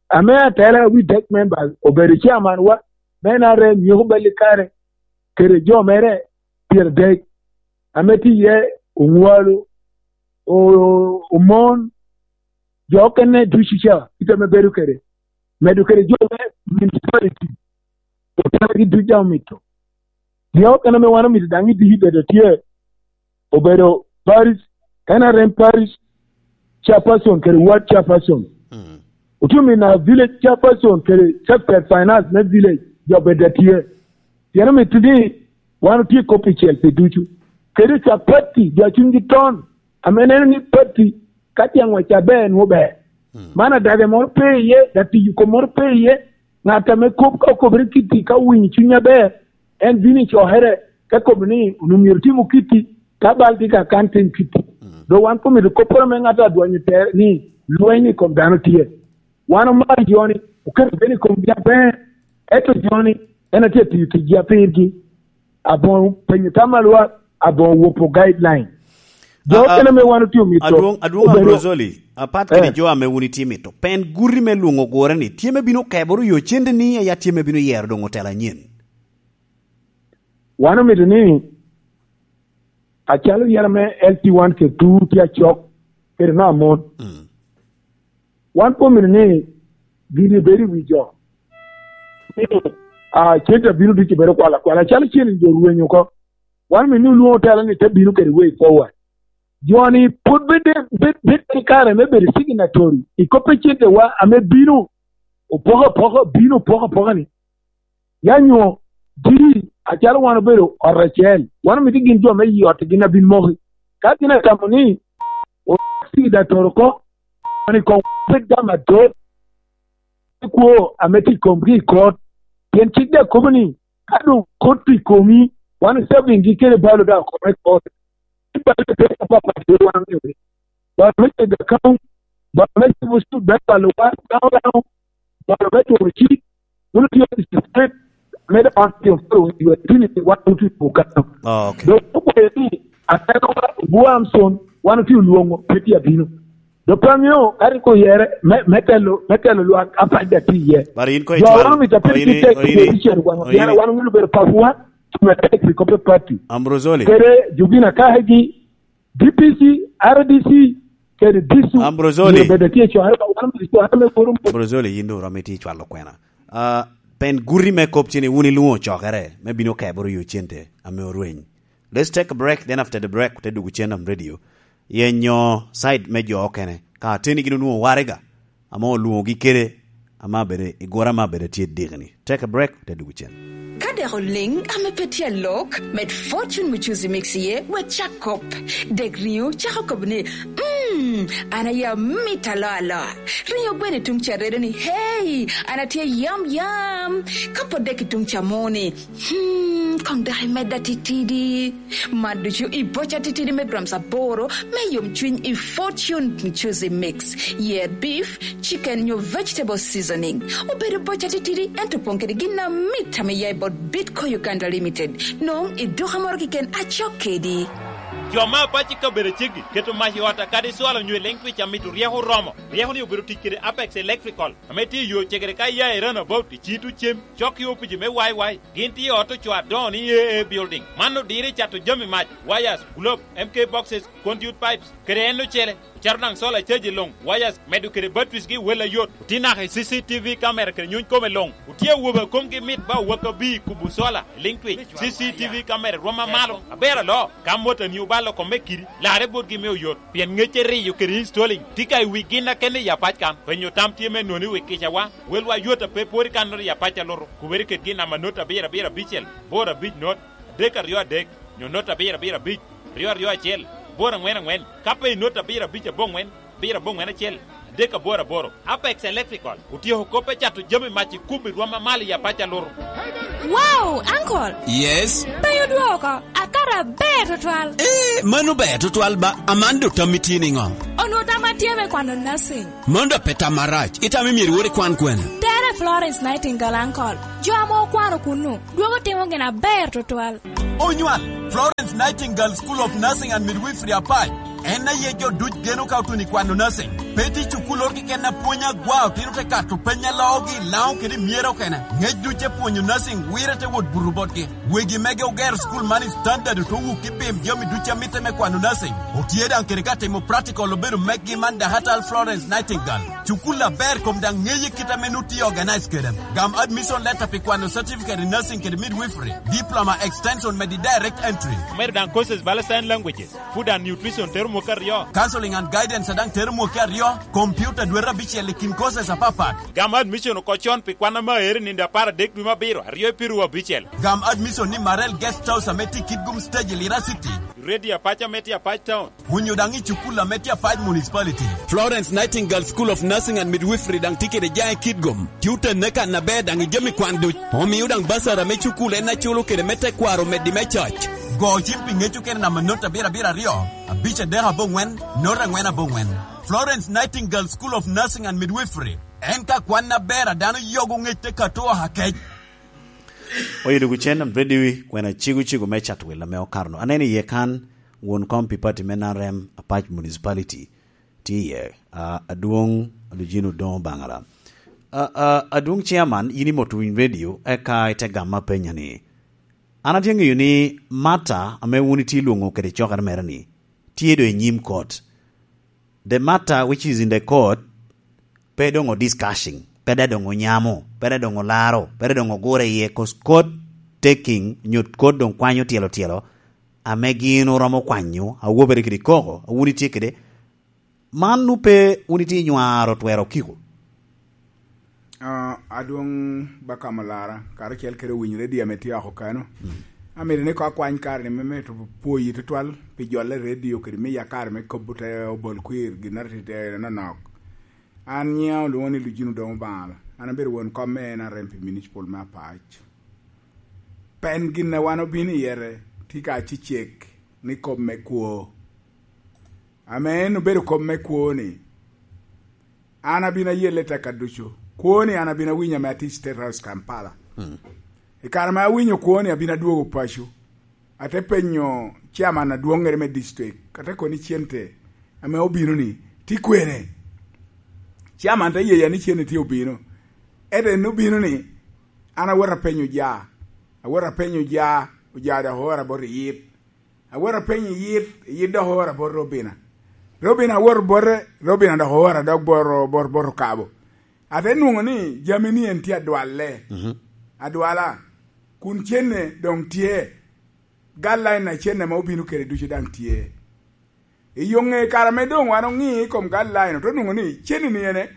ame atela wi dead members obedo chairman wa, me N R M, Nyeko Bal i kare, kede jo mere pyeradek, ame tye iye Oŋwalo, O-, Omon, jo okene ducu ca, kit ame bedo kede, medo kede jo me municipality, otelagi ducu daŋ omito. Jo okene ame wan omito daŋ i district bedo tye, obedo parish, N R M parish chairperson kede ward chairperson. Mm. Otye omito na village chairperson kede secretary finance me village, jo bed a tye. Pien omito ni wan otye kop i cel pi ducu. Kede cak patti, jo a cunygi ton, ame neno ni patti ka tye aŋwec aber, nwoŋo ber. Mm. Man adage moro pe iye, datiyo kom moro pe iye. Ŋat ame kop ka okobere kitti, ka owinyo cuny aber, en bino i cokere, ka kobo ni onwoŋo myero tim kitti, ka bal tye ka kan tim kitti. Mm. Dok wan pe omito kopporo ame ŋat adwonyo tere ni lweny i kom dano tye. Wan omaro jo-ni, oketo bene i komgi aber, ento jo-ni en atye atiyo ticgi apirgi. Aboŋo penyo tam a lwak, aboŋo wopo guideline. Jo A, a, okene ame wan otye omito adwoŋ, adwoŋ obedo Ambrosoli, apat kede Eh. jo ame wun itye mito, pen guti me lwoŋo ogure-ni, tye me bino keboro yo cente-ni, ya tye me bino yero doŋ otelo anyen? Wan omito ni, acalo yero me L T one kede two tye acok, kede me Amon. Mm. Wan pe omito ni gin ebed i wi jo. Ni, ah, cente abino ducu bedo kwala kwala. Acalo cen jo rweny oko. Wan omito ni olwoŋo tela ni te bino kede way forward. Jo-ni pwod bed, bed, bed i kare me bedo signatory i kop me cente wa ame bino opoko apoka, bino opoko apoka ni. Ya nyo diri acalo wan obedo ot acel, wan omito gin jo me i ot gin abin moki. Ka gin atamo ni osi i datoro oko, wan i kom bed gam adot, i kwo ame tye i komgi i kot. Pien cik daŋ kobo ni, ka doŋ kot tye i komi, wan i serving gi kede balo daŋ okome i kot. Balo te apapat wan oŋeo ni. Balo me tego account, balo me cibo cuk, me balo wan, Laŋo Laŋo, balo me turo cik, wun otio i state, me dok wan otio koro i wa tini ni wan otio i Bukano. Oh, okay. Dok okwayo ni, ateno wa Buamson, wan otio lwoŋo, pe tye abino. Dok pe amio, ka rik oyere, me, me telo, me telo lwak, apac da tye iye. But in ko Jo, itwal, wan omito o apel in ki i, tek o in i, position wan, o in pien i. Wan wun obedo papuwa, tume tek pi kope party. Ambrosoli. Kede Jubina Kahagi, D P C, R D C, kede D C U, Ambrosoli. Myero bed atye i cokere, wan omito cokere me boro. Ambrosoli, yin doŋ oromo itye i cwalo kwena. Ah, pen guti me kop cini wun ilwoŋo cokere me bino keboro yo cente ame orweny. Let's take a break, then after the break, te dwogo cen on radio. Yenyo side me jo okene. Ka ateni gin onwoŋo waraga, ame olwoŋogi kede, ame abedo, i gura ame abedo tye dikni. Take a break, te dwogo cen. Ka dek oliŋ ame pe tye alok, med Fortune Muchuzi Mix iye, wek cak kop. Dek riŋo cako kop ni, "Mm, an aye amit aloa aloa." Riŋo gweno i tuŋ ca redo ni, "Hey, an atye yam yam." Ka pot dek i tuŋ ca mo ni, "Hmm, koŋ dek imedda titidi." Man ducu i boca titidi me grams aboro me yomcwiny i Fortune Muchuzi Mix. Yer beef, chicken nyo vegetable seasoning. Obedo boca titidi, ento opoŋ kede gin amit ame ya i bot Bitco Uganda Limited. Noŋ i duka moro keken acok kedi. Jo me apac i kabedo ceggi keto mac i ot akadi cwalo nyo i Lengtwich amito ryeko oromo. Ryeko ni obedo tic kede Apex Electrical, ame tye i yo cegere ka iya i Runabout i Citu Cem, cok i opici me Y Y. Gin tye i ot ocoo adoŋo ni A A Building. Man odiro i cato jami mac, wires, globe, M K boxes, conduit pipes, kede en ocele. Ocato daŋ solar charge i luŋ, wires, medo kede batteries gi wel ayot. Otye naka i C C T V camera kede nyuny kome luŋ. Otye awobe a komgi mit ba owak abir i kubo solar i Lengtwich. C C T V camera rwom amalo, aber aloo. Ka motani obalo kome kidi, larre botgi me oyot. Pien ŋecce riyo kede installing tye ka i wi gin akene i apac kan. Penyo tam tye me noni wi kicawa. Welwa yot a pe pwod i kannoro i apac alutu. Kubere ked gin namba not abiro abiro abicel, boro abic not, adek aryo adek, nyo not abiro abiro abic, ryo aryo acel, boro aŋwen aŋwen. Ka pe i not abiro abic aboŋwen, abiro aboŋwen acel, adek aboro aboro. Apex Electrical otyeko kop me cato jami mac i kubo i rwom amalo i apac alutu. Wow, uncle! Yes? Pe odwoko, akato aber tutwal. Eh, mano ber tutwal ba, Amanda, otammi tye niŋo? Onwoŋo tamma tye me kwano nursing. Mano dok pe tam arac, itamo myero iwot ikwan kwene? Tere Florence Nightingale, uncle. Jo ame okwano kunnu, dwogo timo gin aber tutwal. Onywal, Florence Nightingale School of Nursing and Midwifery Apac. En aye jo duc geno ka otuno i kwano nursing. Pe tye cukul oro keken a pwonyo agwa, otino te kato peny a loogi i Laŋo kede i Myera okene. Ŋec duc e pwonyo nursing, wire te wot buto botgi. Wegi mege ogero cukul man i standard, ote wuki bim jami duc a mitte me kwano nursing. Otye daŋ kede ka timo practical obedo meggi man Dahatal Florence Nightingale. Cukul aber kom daŋ ŋeye kit ame nu tye organize kede. Gam admission letter pi kwano certificate in nursing kede midwifery, diploma extension medi direct entry. Omedo daŋ courses bala sign languages, food and nutrition tero mwaka aryo. Counseling and guidance daŋ tero mwaka aryo, computer dwete abicel i kin courses apapat. Gam admission oko con pi kwan ame aero i nino apar adek dwe me abiro, aryo i piru abicel. Gam admission ni Marel Guest House ame tye i Kitgum Stage i Lira City. Radio Apac ame tye Apac Town. Onyo daŋ i cukul ame tye Apac Municipality. Florence Nightingale School of Nursing and Midwifery daŋ tye kede jaŋ i Kitgum. Tye otenne kan aber daŋ i jami kwan duc. Omio daŋ basara me cukul en aculo kede me tekwaro omeddi me coc. Go cim pi ŋec okene namba not abiro abiro aryo, abic adek aboŋwen, not aŋwen aboŋwen. Florence Nightingale School of Nursing and Midwifery. En ka kwan aber a dano yogo ŋec te kato oha kec. Oyo duk cen am ready wi kwena cigo cigo me Chatwel ame okaro-nu. Aneno iye kan won kom pi pati me N R M Apac Municipality tye iye, a, adwoŋ Lujino Odoŋo Baŋara. A, a, adwoŋ chairman, yin imoto winy radio, eka ite gama penya ni, an atye ŋeyo ni Martha ame wun itye lwoŋo kede cokere mere ni, tye do i nyim kot. The matter which is in the court, pe doŋ o discussing, pe da doŋ onyamo, pe da doŋ olaro, pe da doŋ ogure iye, 'cause court taking, nyo court doŋ kwanyo tyelo tyelo, ame gin oromo kwanyo, awobere kede koko, a wun itye kede. Man nu pe wun itye nywaro twero kiko. Ah, adwoŋ Bakam Olara, karacel kede owiny redio ame tye oko kano. Mm. Amito ni ko akwany kare ni me meto pwoyi tutwal pi jolle redio kede miya kare me kobo te obol kwir gin atitite nonok. An nyiŋa olwoŋo ni Lujino Odoŋo Baŋara. An abedo won kom me N R M pi Municipal me Apac. Pen gin a wan obino i yete tye ka cecek ni kop me kwo. Ame en obedo kop me kwo ni, an abino ayelle tekka ducu. Kwo ni an abino awinyo ame atye i State House Kampala. Mm. I kare ma awinyo kwo ni abino adwogo paco. Ate penyo chairman adwoŋŋere me district, ate kono ni cente ame obino ni, tye kwene? Chairman te yeya ni cente tye obino. Ento en obino ni, an awot apenyo ja, awot apenyo ja, oja dok oora bot i yit. Awot apenyo i yit, i yit dok oora bot Robina. Robina awot bote, Robina dok oora dok bot, bot, bot Okabo. Ate nwoŋo ni jami ni en tye adwalle. Mhm. Adwala, kun cenne doŋ tye. Guideline a cenne ame obino kede ducu daŋ tye. I yo ŋe kare ame doŋ wan oŋi i kom guideline, ote nwoŋo ni cenne ni ene,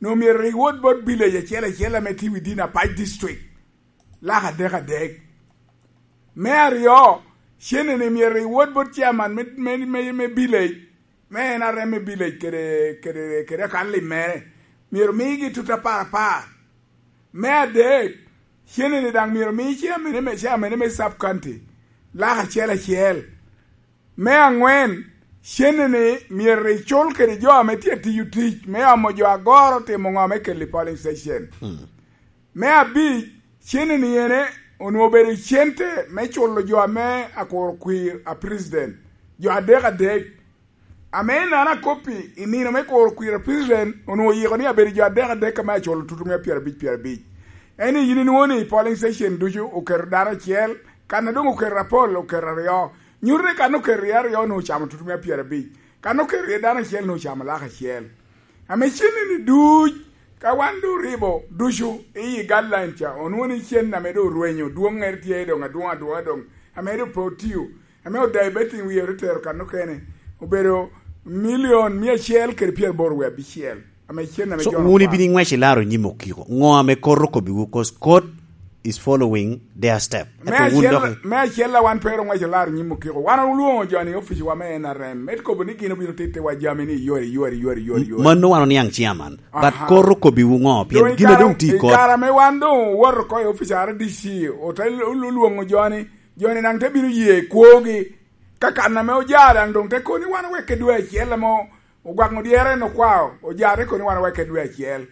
no myero rik wot bot village acel acel ame tye within Apac district. Lak adek adek. Me aryo, cenne ni myero rik wot bot chairman me, me, me, me village, me N R M me village kede, kede, kede akan lim mere. Myero migi tut apar apar. Me adek, cene ni daŋ myero mi chairman me, chairman me sub county lak acel acel. Me aŋwen, cene ni myero icul kede jo ame tye tiyo tic me omo jo agoro timo ŋo me kelo i polling station. Hmm. Me abic, cene ni ene onwoŋo obedo cente me culo jo ame akuro kwir a president, jo adek adek. Ame en an akoppi i nino me kuro kwir a president, onwoŋo oyiko ni abedo jo adek adek ame aculo tutu me pyerabic, pyerabic. En i yin inwoŋo ni i polling station ducu oketo dano acel, kan a doŋ oketo apol oketo aryo. Nyuto ni kan oketo iye aryo onwoŋo ocamo tutu me pyerabic. Kan oketo iye dano acel onwoŋo ocamo lak acel. Ame cenne ni duc, ka wan doŋ oribo ducu i guideline ca, onwoŋo ni cen ame doŋ orwenyo, dwoŋŋere tye doŋ adwoŋ adwoŋa doŋ, ame doŋ pe otiyo. Ame odaibet i wie ote tero kan okene, obedo milion mia acel kede pyeraboro wie abicel. Ame cen ame So, jo wun okwano. Ibino iŋwec ilaro nyim okiko. Ŋo ame kot okobbiwu? 'Cause kot is following their step. Me Ento wun acel, dok i- me acel a wan pe ero ŋwec olaro nyim okiko. Wan olwoŋo jo ni oficiwa me N R M. Met kobo ni gin obino tittiwa jami ni yori, yori, yori, yori, yori. Mano wan oniaŋ chairman. But Aha. Koro kobbiwu ŋo? Pien Doŋ i gin a kare, doŋ tye i i kot. Kare ame wan doŋ owoto oko i ofice R D C, ote lu-, lu-, lwoŋo jo ni, jo ni daŋ te bino ye kwogi. Ka kan ame oja daŋ doŋ te kobo ni wan owekke dwe acel ame ogwaŋo dyere en okwao, oja te kobo ni wan owekke dwe acel.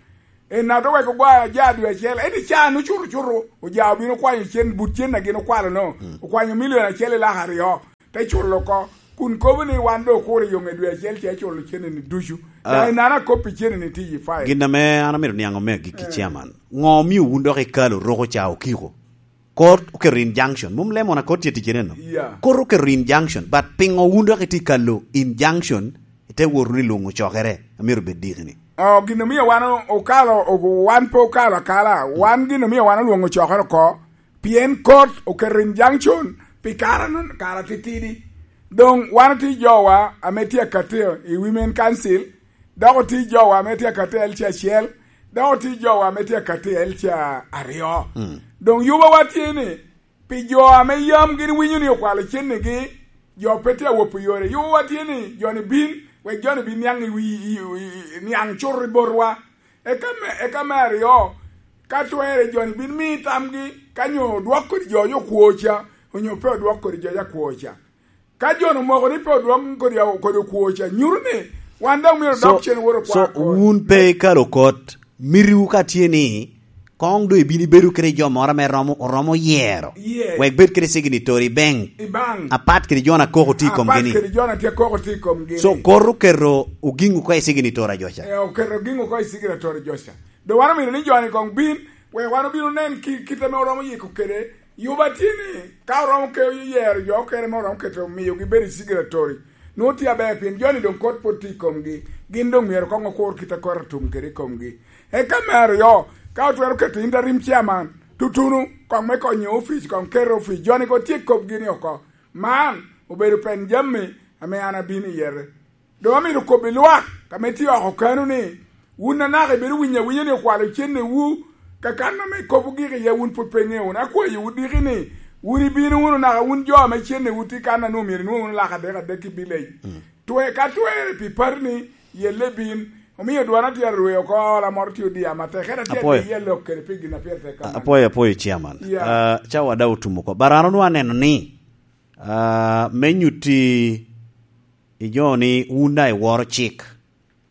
En na te weko gwa-, oja dwe acel, ento i caa-nu cuto-cuto, oja obino okwanyo cen, but cen a gin okwalo-no, Mm. okwanyo milion acel i lak aryo, te culo oko, kun kobo ni wan doŋ okuro i yoŋe dwe acel, ce culo cen-ni ducu. Ah. Daŋ i nano akop i cen-ni tye i file. Gin ame an amito niaŋ ome agikki, Eh. Chairman. Ŋo omio wun dok ikalo roko ca okiko? Court oketo injunction. Mom lemon a court tye ticere no. Yeah. Court oketo injunction, but pingo wun dok itye kalo injunction, ite wot wunu i luŋo cokere, amito bed diki ni? Oh, gin omio wan o-, okalo, o-, wan pe okalo akala. Wan gin omio wan olwoŋo cokere oko, pien court oketo injunction pi kara-nu, kara titidi. Doŋ wan otye jowa ame tye akati i Women Council, dok otye jowa ame tye akati i L C acel, dok otye jowa ame tye akati i L C aryo. Mm. Doŋ yubawa tye ni, pi jo ame yam gin winyo ni okwalo cennigi, jo pe tye awopo yore. Yubawa tye ni, jo-ni bin, wek jo-ni bin niaŋ i wi, i, i, i, niaŋ cuto i botwa. Eka me, eka me aryo, ka twerre jo-ni bin mi tamgi, ka nyo odwok kodi jo yo kwo ca, onyo pe odwok kodi jo ya kwo ca. Ka jo-nu omoko ni pe odwok kodi, kodi okwo ca, nyuto ni wan daŋ myero So, odok cen wot so okwa kodi. Wun pe ikalo kot, mitiwu ka tye ni, koŋ doŋ ibin ibedo kede jo moro ame romo, oromo yero. Yes. Wek bed kede signatory i bank. I bank. Apat kede jo-nu akoko tye i komgi ni. Apat kede jo-nu tye akoko tye i komgi ni. So, kot oketo ogiŋ oko i signatory a jo ca. Eh, oketo ogiŋ oko i signatory jo ca. Doŋ wan omito ni jo-ni koŋ bin, wek wan obin onen ki-, kit ame oromo yiko kede. Yuba tye ni, ka oromo ke yero jo okene ame oromo keto, miyogi bedo i signatory, nwoŋo tye aber, pien jo-ni doŋ kot pwod tye i komgi. Gin doŋ myero koŋ okur kit a kot otum kede i komgi. Eka me aryo, ka otwero keto interim chairman, tutunu, koŋ me konyo ofic, koŋ ket ofic, jo-ni koŋ tye i kopgi ni oko. Man obedo pen jami ame an abino i yete. Doŋ amito kobbi lwak ame tye oko kano ni, wun anaka ibedo winyo awinya ni okwalo cennewu, ka kan ame kop ogik iye wun pwod pe iŋeo wunu. Akwayowu diki ni, wun ibino wunu naka wun jo ame cennewu tye kan a nwoŋo myero inwoŋ wunu lak adek adek i village. Mm. Twe-, ka twerre pi parti-ni, yelle ibin. Omio dwana tye arwe oko, ola moro tye odiya matek. Ento atye Apwoyo. Adi yelle ok kede pi gin a pire tek kamano. Apwoyo, apwoyo, chairman. Yeah. Ah, cawa daŋ otum oko. But an onwoŋo aneno ni, ah, me nyutti i jo ni wun daŋ iworo cik,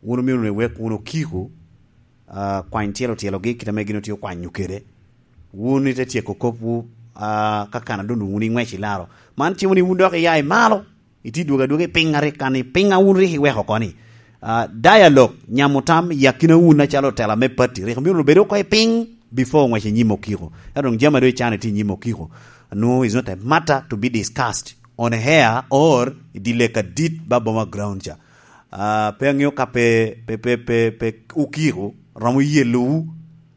wun omio wunu iwek wunu okiko, ah, kwany tyelo tyelogi kit ame gin otye okwanyo kede. Wun ite tyeko kopwu, ah, ka kan a doŋ wun iŋwec i laro. Man cimo ni wun dok iya i malo, itye dwogo adwoga i piny a rik kan i piny a wun rik iweko oko ni. Ah, dialogue, nyamo tam i akina wun acalo otela me party, rik omio wunu bed oko i piny before oŋwec i nyim okiko. Ento doŋ jami a doŋ icano itye i nyim okiko, no, is not a matter to be discussed on air or i dye lek adit ba boma ground ca. Ah, pe aŋeo ka pe, pe, pe, pe, pe okiko romo yelowu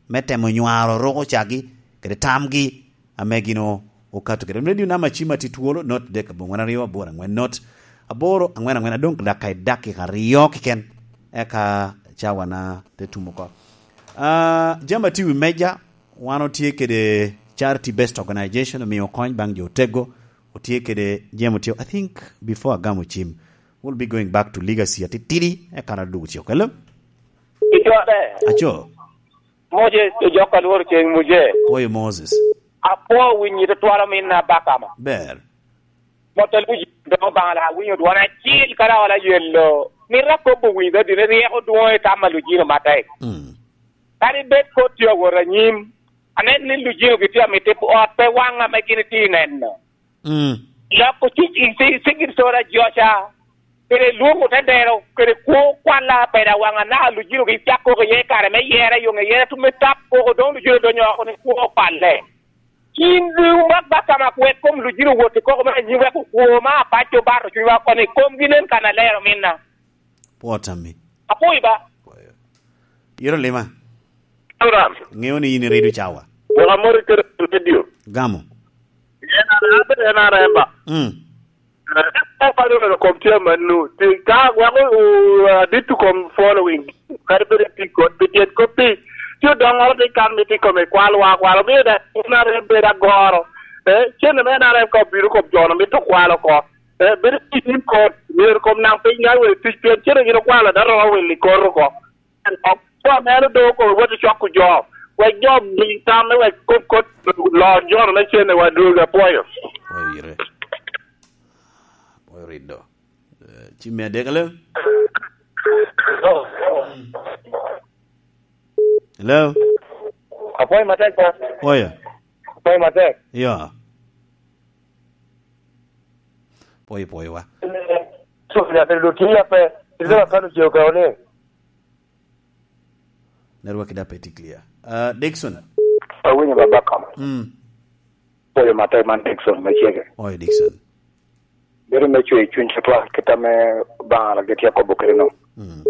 me temo nywaro roko cagi kede tamgi ame gin o-, okato kede. Radio namba cim atye twolo, not dek abongwen aryo aboro angwen not aboro angwen angwen, adong daka i dakika aryo keken, eka cawana te tum oko. Ah, jami atye i wi meja, wan otye kede charity based organization, omiyo kony baŋ jo otego, otye kede jemo tye, I think, before agamo cim, we'll be going back to legacy atitidi, eka na dugu tye okelo. Icode. Aco. Moses, ojok ka lworo ceng Muje. Oyo Moses. Apwo winyi tutwal ominna Bakama. Ber. Mot a luji doŋ Obaŋa la winyo dwon acil kara ola yello. Mito akobo winyi dadi ni ryeko dwoŋ i tam a lujino matek. Mm. Kadi bed kot tye awot anyim, anen ni lujino gitye amito ot pe waŋ ame gin itye neno. Mm. Loko cik i ci-, cik i tora joca, kede lwongo te dero, kede kwo kwalla peda waŋ anaka lujino gi cak koko iye kare me yera yoŋe yera tume tap koko doŋ lujino donyo oko ni kwo kwalle. Cin luŋ bak bak kama kwek kom lujino wot i koko me anyim wek okwo ma apaco bato cunywa oko ni komgi nen kan alero minna. Pwot ami. Apwoyi ba. Pwoyo. Yero lima. Abraham. Ŋeo ni in iredo cawa. Wek amor i kede redio. Gamo. En ara, abe en ara emba. Mm. Ka paro wek kom tye amanno, ti ka weko, uh, adit to kom following. Kadi bed ati kod, pi tyen koppi, Ci odoŋŋoro te kan mito i kome kwalwa akwala, omio daŋ N R M bedo agoro. Eh, cente me N R M ka obino kom jo-nu mito kwalo oko. Eh, bedo i tim kot, myero kom naŋ piny ŋaŋ wek tic, pien cente gin okwalo, dano romo wil i kot oko. En kop, co mere doŋ okobo wot i coko jo, wek jo mi tam me wek kop kot lo jo-nu me cente wa dwogo, apwoyo. Apwoyo ire. Apwoyo rido. Eh, ci me adek, hello? Hello? Apwoyo matek, pa. Apwoyo. Apwoyo matek. Ya. Apwoyo, apwoyo wa. So, ya, pero lo tiya pe, ito la kano je oka one. Network da pe tye clear. Ah, Dickson. Awinyo baba kama. Mm. Apwoyo matek, man Dickson me Cege. Oyo, Dickson. Bedo me cwer cuny tutwal, kit ame Obaŋa gitye kobo kede no. Mm.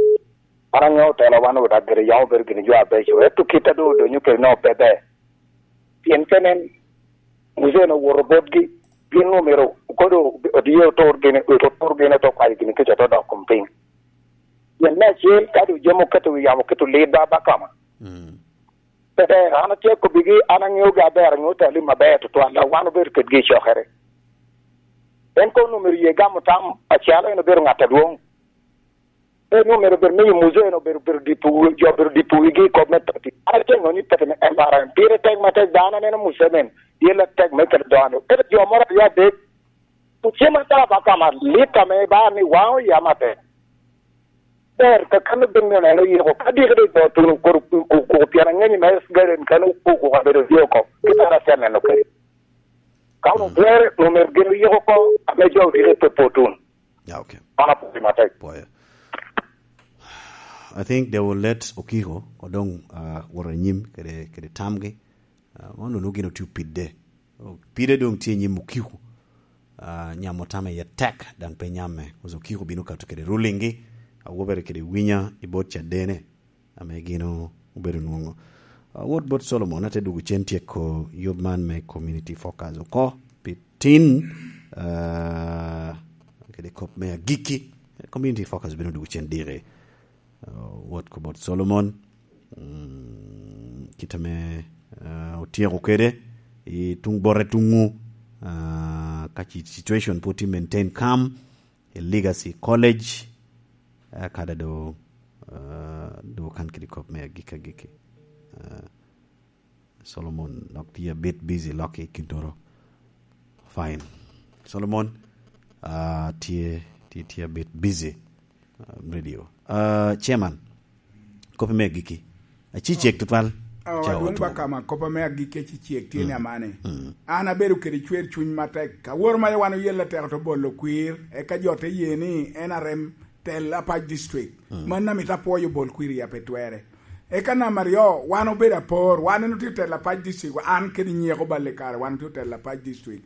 An aŋeo otelo wan oda gire yam obedo gini jo abeco, ento kit a doŋ odonyo kede no pe ber. Pien pe nen, Musa en owoto botgi, gin omyero kodo odie otur gini, otur gini, oto kwayo gini kica, oto dok kom piny. Pien me acel, ka doŋ jami oketo wi yamo, oketo lit ba, ba kama. Mm. Pe ber, an atye kobbigi, an aŋeogi aber, aŋeo talim aber tutwal, a wan obedo kedgi i cokere. En kono omyero ye gamo tam, acalo en obedo ŋat adwoŋ. En omyero bed miyo Musa en obedo, obedo dipo wi-, jo obedo dipo wigi i kop me pati. An aceŋo ni pati me M R M. Pire tek matek, dano aneno Museveni, tye latek me kelo dano. Ento jo moro aryo adek, ocem ata ba kama lit ame ba ni waŋo yam atek. Ber, kakano ben ni oneno yiko. Ka diki de jo tuno kor ku-, ku-, ku-, pien aŋenyi me Garden kan okuko abedo tye oko. Kit an atye aneno kede. Ka onwoŋo Mm. twer, omyero gin oyiko oko, ame jo odiki pe potun. Yeah, okay. Mano apwoyo matek. Pwoyo. I think they will let Okiko odong, uh, wot anyim kede, kede tamgi. Uh, man onwoŋo gin otye opide. Pide doŋ tye i nyim Okiko. Uh, nyamo tame iye tek, daŋ pe nyamme. Because Okiko bino kato kede ruling gi, awobere kede winya i bot cadene, ame gin o-, obedo nwoŋo. Uh, wot bot Solomon, ate dugo cen tyeko yub man me community focus oko, pi tin, uh, kede kop me agikki, community focus bino dugo cen diki. Uh, wot ko bot Solomon, mm, kit ame, uh, otyeko kede i tuŋ bote tuŋu, uh, ka ci-, situation pwod tye maintain calm, i Legacy College, uh, kada do, uh, do kan kede kop me agikki agikki. Uh, Solomon nok tye a bit busy lok i kintoro. Fine. Solomon, ah, tye, tye, tye a bit busy. Ah, radio. Ah, Chairman, kopi me agikki. Aci cek tutwal. Oh, Ca adwoŋ otuko. Ba kama, kopa me agikki aci cek tye ni Mm. amane. Mm. An abedo kede cwer cuny matek. Aworo ma wan oyelle teko to bolo kwir, eka jo te ye ni N R M tel Apac District. Mm. Man amito apwoyo bol kwir ya pe twere. Eka namba aryo, wan obedo apor, wan en otye telo Apac District, an kede nyeko balle kare, wan otye telo Apac District.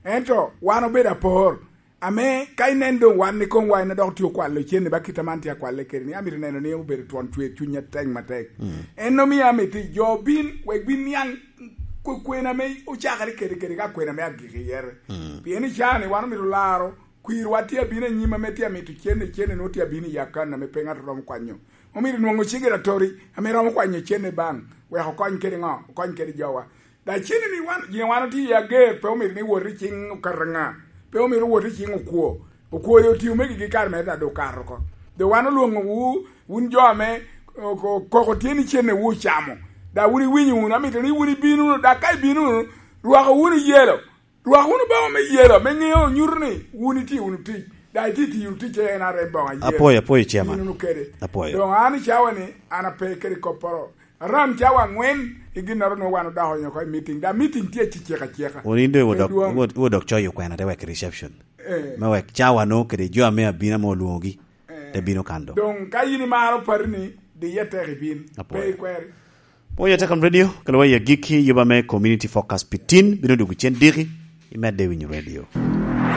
Ento wan obedo apor, ame ka inen doŋ wan ni koŋ wa en dok tye okwalo cen ni ba kit aman tye akwalle kede ni, amito neno ni obedo twon cwer cuny atek matek. Mm. En omio amito jo bin, wek bin niaŋ kwe-, kwena ame ocakere kede, kede ka kwena me agikki yere. Mm. Pien i caa ni wan omito laro, kwirwa tye abino anyim ame tye amito cen, cen ni nwoŋo tye abino i akan ame pe ŋat romo kwanyo. Omito nwoŋo cigiratori ame romo kwanyo cen i bank, wek okony kede ŋo? Okony kede jowa. Da cen ni wan, gin wan otye i ager, pe omito ni wot i ciŋ okato ŋa? Pe omito wot i ciŋ okwo. Okwo yo otio megi gi kare mere da doŋ okato oko. Doŋ wan olwoŋowu, wun jo ame o-, o-, koko tye ni cen wu ocamo. Da wun iwinyo wunu, amito ni wun ibin wunu, da ka ibin wunu, rwako wunu yelo. Rwak wunu boŋo me yelo, me ŋeo nyuto ni wun itye wunu tic, daŋ itye tiyo wunu tic en are boŋo ayelo. Apwoyo, apwoyo, Chairman. Yin wunu kede. Apwoyo. Doŋ an i cawa ni, an ape kede kopporo. Aram cawa aŋwen, i ginnoro nwoŋo wan odok onyo oko i meeting. Da meeting tye acecek aceka. Wun in doŋ iwod Pe dwong. Iwod, iwod dok coyo kwena te wek reception. Eh. Me wek cawa no kede jo ame abino ame olwoŋogi, eh, te bino kan do. Doŋ ka in imaro pari ni, diye tek ibin. Apwoyo. Pe ikweri. Pwoyo Atekam Radio, kelo wa i agikki, yuba me Community Focus pi tin, bino dwogo cen diki, imedde winyo radio.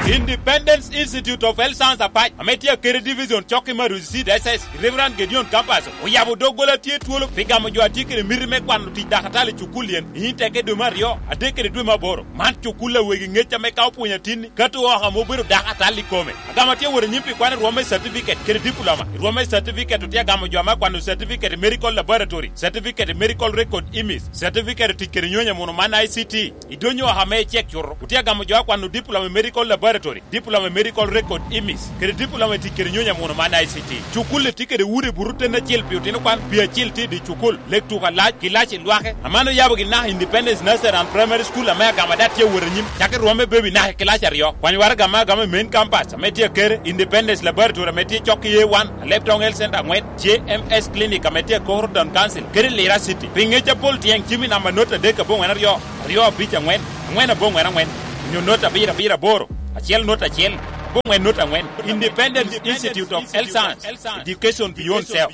Independence Institute of Health Science Apac, ame tye akede division cokki me Arusi C D S S, Reverend Gedeon Campus, oyabo doggola tye twolo pi gamo jo a tye kede miti me kwano tic dakatali i cukul yen i teke dwe me aryo, adek kede dwe me aboro. Man cukul a wegi ŋec ame ka opwonyo atinni, ka to oko ame obedo dakatali i kome. Agamo tye wot anyim pi kwano i rwom me certificate kede diploma. I rwom me certificate otye agamo jo ame akwano certificate i medical laboratory, certificate i medical record image, certificate i tic kede nyonyo muno man I C T. I dony oko ame icek cuto, otye agamo jo akwano diploma i medical laboratory, diploma i medical record image, kede diploma i tic kede nyonyo muno man I C T. Cukul-li tye kede udi buto ten acel pi otino kwan, pi acel tye i dye cukul, lek tuko alac, kilaci lwake. Aman oyabo gi naka Independence Nursery and Primary School ame agamo ada tye awot anyim, cak i rwom me baby naka i kilaci aryo. Kwany waraga ame agamo i main campus ame tye akere, Independence Laboratory ame tye cok i A one, Alep Town Health Center angwen, J M S Clinic ame tye akoro Town Council, kede Lira City. Pi ŋec apol tyeng cim i namba not adek aboŋwen aryo, aryo abic angwen, angwen aboŋwen angwen, onyo not abiro abiro aboro, acel not acel, aboŋwen not angwen. Independence Institute of Health Science, Education Beyond Self.